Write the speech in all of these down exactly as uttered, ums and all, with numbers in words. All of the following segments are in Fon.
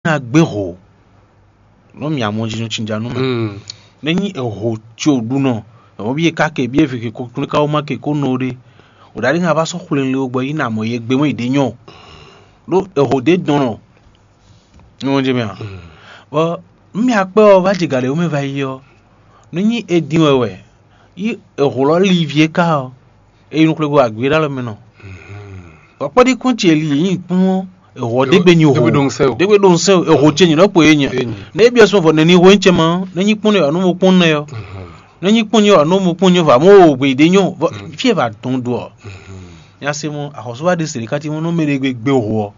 ná gbé hǒ nú mì amɔjínú cinjánú mɛ. Mm. Ne nyí èhǒ ce ò ɖu nɔ, èhǒ bí e ka ke bí e vǐ ke ko kplé ka wó má ke kó nɔ ɖe. Ò ɖa ɖé ŋa vá sɔ́ xwlé le gbɔ yi na mɔ ye gbé mɔ yi ɖě nyɔ. Ɖó èhǒ ɖě dɔn nɔ. Ní wọ́n jẹ́ mɛ a? Bɔ nú mì akpẹ́ ɔ́ vá jɛ gǎɖé wú mɛ va yi ɔ́, nú nyí e din wɛ wɛ, yi èhǒ lɔ li vǐ e ka ɔ́, e yi nukplé go agbě ɖó alɔ mɛ nɔ. Ɔkpɔ́ɖí kún ce li yě nyi kpɔ́n ɔ́, èhɔ́ ɖégbé nyi Ɖégbé ɖo ŋsɛn o. Ɖégbé ɖo ŋsɛn o, èhɔ́ ce nyi ɖɔkpo yé nyɛ. Yé nyɛ. Ne é byɔ́ sɔn vɔ nɛni hó nyí cɛ ma, ne nyí kpɔ́n ne wà nú mo kpɔ́n nɛ ɔ́. Ne nyí kpɔ́n nyí wà nú mo kpɔ́n nyí vɔ mó o gbě ɖé nyɔ. Vɔ fí e va dɔn do ɔ́. Nya se mɔ axɔ́súwa ɖe se ɖé ká tí mɔ nú mɛ ɖé gbe gbé ho ɔ́,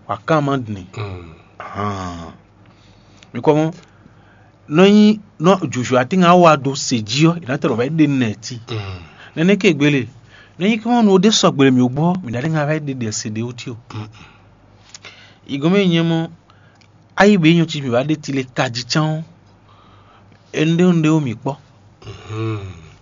wà kán ma dni. Hàn. Mi kɔ mɔ nɔ nyí nɔ jǔjǔ atín ŋa wa do se jí ɔ́, è nǎ tɛ ɖɔ wɛ ɖe nɛ ti. Nɛnɛ ke gbélé, nɔ nyí kí wọ́n nu ɖé sɔgbe mì gbɔ, mì ɖa ɖé ŋa wɛ ɖe ɖe se ɖe wú tí o. Igɔn mɛ nyɛ mɔ ayi be nyɔ ci mì wá ɖe ti le kají cán ɔ́, énúɖéwúnɖéwú mì kpɔ.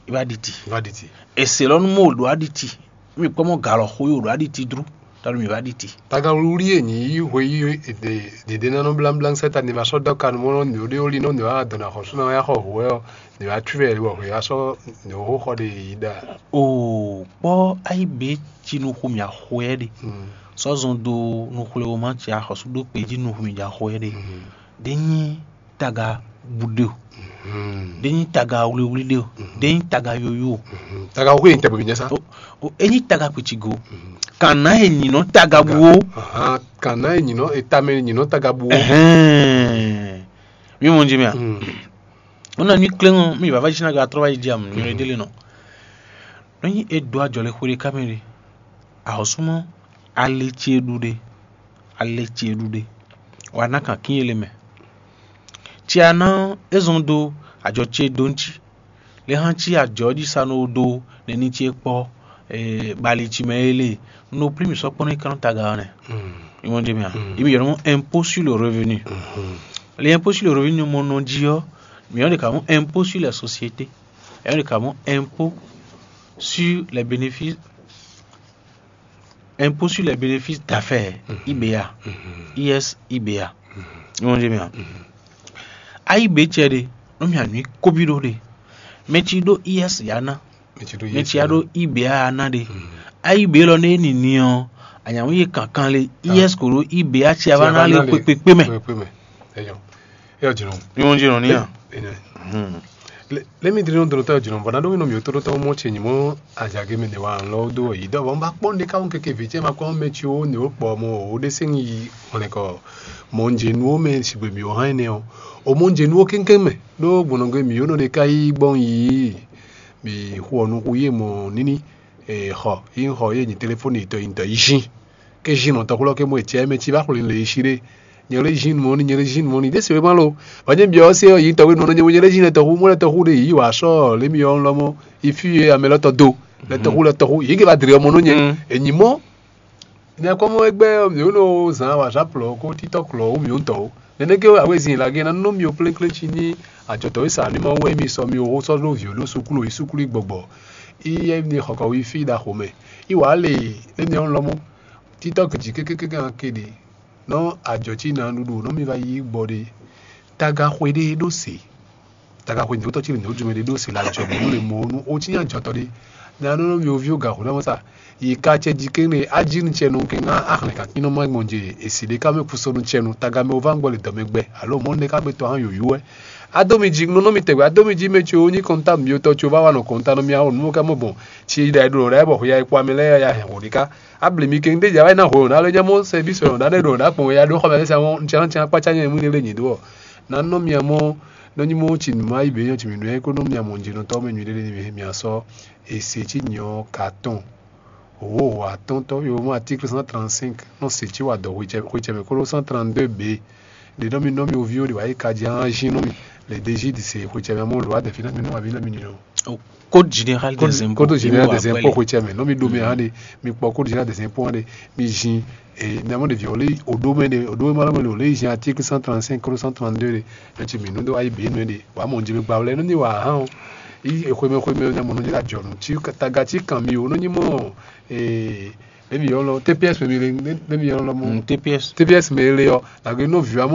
Í wá ɖi ti. Vá ɖi ti. Èsè lɔ nú mɔ ɖo wá ɖi ti. Mì kpɔ mɔ galɔ xó yi ɖo wá ɖi ti dru. Tanu mì wá ɖi ti. Taga wlíwlí e nyǐ yí hwe yí ɖěɖé ná nɔ blámblám sɛ́ ta ni ma sɔ́ dɔ́ ka nú mɔ nɔ nǔɖé wlí nɔ nǔ wa dɔn axɔ́sú ná ya xɔ hǔ wɛ ɔ́, nǔ wa tú wɛ wɔ hwe ya sɔ́ nǔ xó xɔ ɖe yi ɖa. O kpɔ ayi be ci nu xu mì axɔɛ ɖe. Sɔ́ zɔn do nu xwle wo ma ci axɔ́sú ɖó kpe jí nu xu mì jɛ axɔɛ ɖe. Ɖé nyí taga bu ɖe o. Ɖé nyí taga wlíwlí ɖe o. Ɖé nyí taga yoyo o. Taga xó yi tɛgbɛ nyɛ sá. O e nyí taga kpitigo. Kana e nyinɔ taga bu o. Kana e nyinɔ etame nyinɔ taga bu o. Ɛhɛn. Mi mɔ nji mi a? Wọ́n ná nyí klé ŋɔ mi bàbá yìí sinagbe atrɔ wá yi di amu nyɔ̌ ɖé lé nɔ. Nɔ nyí e dó ajɔ le xwé ɖé ká mɛ ɖé. Ahɔsúmɔ ale ce ɖu ɖe. Ale ce ɖu ɖe. Wà ná kan kín ele mɛ. Tsi a ná é zɔn dó ajɔ ce dó ŋtsi. Le hã tsi ajɔ jí sa nɔ dó nɛni ce kpɔ bali tsi mɛ ele. Nɔ plí mi sɔkpɔ nɔ yi kan taga ɔ́ nɛ. Ìmọ̀ jẹ́ mi a? Ìmọ̀ yẹn mɔ impôt sur le revenu. Le impôt sur le revenu mɔ nɔ jí ɔ́, mi yɔn de ka mɔ impôt sur les sociétés. Yɔn de ka mɔ impôt sur les bénéfices. Impôt sur les bénéfices d'affaires, I B A, I S I B A. Ìmọ̀ jẹ́ mi a? A I B cɛ ɖe, nɔ mi anyi kobi ɖo ɖe. Mɛ ci ɖo I S ya ná. Mɛ ci ɖo I S ya ɖo I B A ya ná ɖe. A I B lɔ ne nini ɔ́, anyamu ye kankan le I S ko ɖo I B A ci ava ná le kpekpekpe mɛ. Kpekpe mɛ. Eyɔ. Eyɔ jino. Ìmọ̀ jẹ́ nɔ ní a? Lé mi dlí nɔ dló tɔ́ jino bɔ ná ɖó mi nɔ mi tó tɔ́ mɔ ce nyí mɔ ajage mɛ ne wa lɔ dó yi dɔ bɔ n ba kpɔn ɖe ka ŋu keke vi ce ma kpɔn mɛ ci wo ne wo kpɔ mɔ wo ɖe se yi hɔnɛ kɔ mɔ n jɛ nu wo mɛ sigbe mi wo hàn ne ɔ o mɔ n jɛ nu wo kɛnkɛn mɛ ɖó gbɔnɔgbe mi wo nɔ ɖe ka yi gbɔn yi mi xɔ nu xu yi mɔ nini xɔ yi xɔ yi nyi telefoni tɔ yi tɔ yi zin ke zin nɔ tɔxu lɔ ke mɔ etsɛ mɛ ci va xwle le yi si ɖe nyɛ lé zin mɔ ni nyɛ lé zin mɔ ni ɖe se ma lo ba nyɛ biɔ se yi tɔxu nɔ nyɛ nyɛ lé zin tɔxu mɔ lɛ tɔxu ɖe yi wa sɔ le mi yɔ lɔ mɔ yi fi ye ame lɔ tɔ do lɛ tɔxu lɛ tɔxu yi ke va dri ɔmɔ nɔ nyɛ enyi mɔ nyɛ kɔ mɔ egbɛ mi wo no zan wa sa plɔ ko titɔ klɔ wo mi wo tɔ o nɛnɛ ke awe zin la ge na nɔ mi o kplekple ci ni ajɔtɔ yi sa ni ma wɛ mi sɔ mi o sɔ lo vi o lo sukulu yi sukulu yi gbɔgbɔ yi yɛ ni xɔkɔ yi fi da xomɛ yi wa le emi ɔn lɔmɔ titɔ kejì kékékéké hàn kéde nɔ ajɔ tí nǎ ɖuɖu nɔ mi va yí gbɔ ɖe taga xwe ɖé ɖó se taga xwe ní wótɔ tí lè ní wójú mɛ ɖé ɖó se la jɔ mɛ nú lè mɔ nú o tí nya jɔtɔ ɖé nǎ nɔ nɔ mi oví o ga xwe ɖé mɔ sa yi ka cɛ jí kéne ají nu cɛ nu ké ŋá axlɛ ka kpín nɔ má gbɔn je esi ɖé ká mɛ kusɔ nu cɛ nu taga mɛ o va gbɔ le dɔmɛ gbɛ alo mɔ ne ká mɛ tɔ hã yoyu wɛ ado mi jí nɔ nɔ mi tɛgbɛ ado mi jí mɛ tso nyi kɔnta mi otɔ tso va wa nɔ kɔnta nɔ mi awɔ nu ká mɔ bɔn si ɖa ɖo ɖa bɔ xɔ ya kpɔ amɛ lɛ ya hɛn xɔ ɖé ká Abli mi keng ɖe dza wɛ ná hwe o ná lé nyɛ mɔ sɛbísi ɔ ná ɖe ɖo ná kpɔn ya ɖó xɔmɛ lɛsɛ mɔ ntsia ntsia kpatsa nyɛ mú ɖe lé nyi do ɔ ná nɔ mia mɔ nɔ nyi mɔ tsi nu ma yi be nyɔ tsi mi nɔ yɛ ko nɔ mia mɔ nyi nɔ tɔ mɛ nyui ɖe lé mi mia sɔ ese tsi nyɔ ka tɔn o o atɔn tɔ yo mɔ article cent trente cinq nɔ se tsi wa dɔ xwetsɛ xwetsɛ mɛ ko ɖo cent trente deux be ɖe nɔ mi nɔ mi ovi o ɖe wa yi ka dzi hã zi nɔ mi le dezi di se xwetsɛ mɛ mɔ lo wa dɛ fi na mi nɔ wa bi na mi nyi nɔ. Code général des impôts. Code général des impôts xwetsɛ mɛ nɔ mi ɖo mɛ hã ɖe mi kpɔ code général des impôts hã ɖe mi zin ee mɛ mɔ ɖevi o le o ɖo mɛ ɖe o ɖo mɛ lɔ mɛ le o le zin article cent trente cinq code cent trente deux ɖe mɛ tsi mi nu do ayi be nɔ ɖe wa mɔ nji mi gba wlɛ nɔ ni wa hã o yi xwemɛ xwemɛ mɛ mɔ nɔ nyi la jɔ nu tsi taga tsi kan mi o nɔ nyi mɔ ee Emi yɔ lɔ T P S mi le, emi yɔ lɔ mɔ. T P S. T P S mi le ɔ, nagbe nɔ vi wa mɔ